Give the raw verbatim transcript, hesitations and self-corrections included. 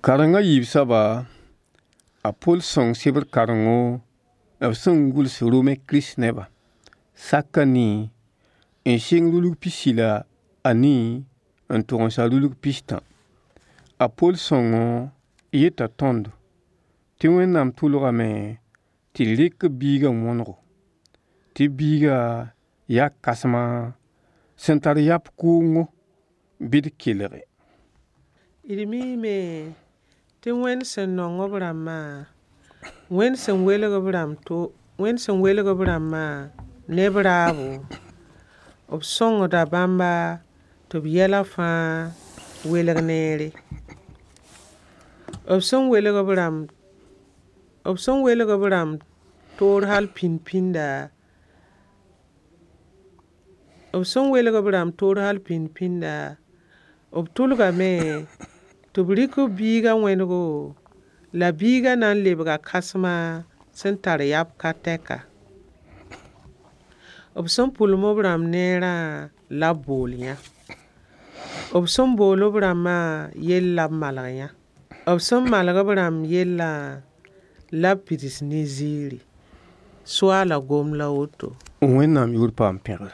Kareng a yiib soaba, a Pol sõng sebr karengo b sẽn gʋls Rome krist-nebã, sak a nii n sɩng rulg pisi la a nii n tog n sa rulg pistã. A Pol sõngo yeta tõndo tɩ Wẽnnaam tʋlgame tɩ d rɩk b Biigã wõnego, tɩ biigã yaa kãsma sẽn tar yap kʋʋngo bɩ d kelge. D miime tɩ Wẽnd sẽn nong b rãmbã, Wẽnd sẽn welg b rãmb to Wẽnd sẽn welg b rãmbã ne b raabo, b sõngda bãmba tɩ b yɛla fãa welg neere. B sẽn welg b rãmb b sẽn welg b rãmb toor hal pĩnd-pĩnda b sẽn welg b rãmb toor hal pĩnd-pĩnda, b tʋlgame tɩ b rɩk b biigã wẽnego la biigã na n lebga kãsema sẽn tar yap ka tɛka. B sẽn pʋlem b rãmb neerã la b bool yã. B sẽn bool b rãmbã yell la b malg yã. B sẽn malg b rãmb yellã la b pids ne ziiri. Soaala gom la woto. Wẽnnaam yʋʋr paam pẽgr.